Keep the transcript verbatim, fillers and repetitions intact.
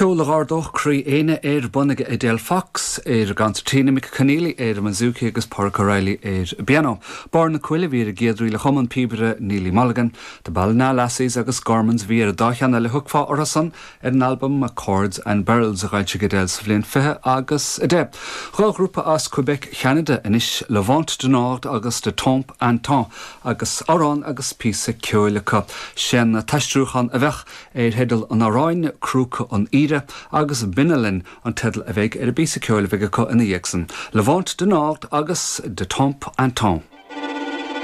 Ceol a d'ardódh croí éinne ar bun ag Edel Fox ar an gconsairtín, Mick Conneely ar an mbouzouki agus Pádraig O'Reilly ar an bpianó. Barr na Coille a bhí ar an gcéad ríl a chum an píobaire Neilly Mulligan, The Ballina Lassies agus Gormans bhí ar an dá cheann eile a thiocfá orthusan ar an albam Chords and Barrels a d'fhoilsigh Edel sa bhliain fiche agus a deich. Dhá ghrúpa as Quebec Cheanada anois Le Vent du Nord agus De Temps en Temps agus amhrán agus píosa ceoil acu. Sé'n t-aistriúchán a bheadh ar theideal an amhráin Crúca an Aoire agus Binalin an teideal a bheidh ar an bpíosa ceoil a bheidh acu ina dhiaidh san. Le Vent du Nord agus De Temps en Temps.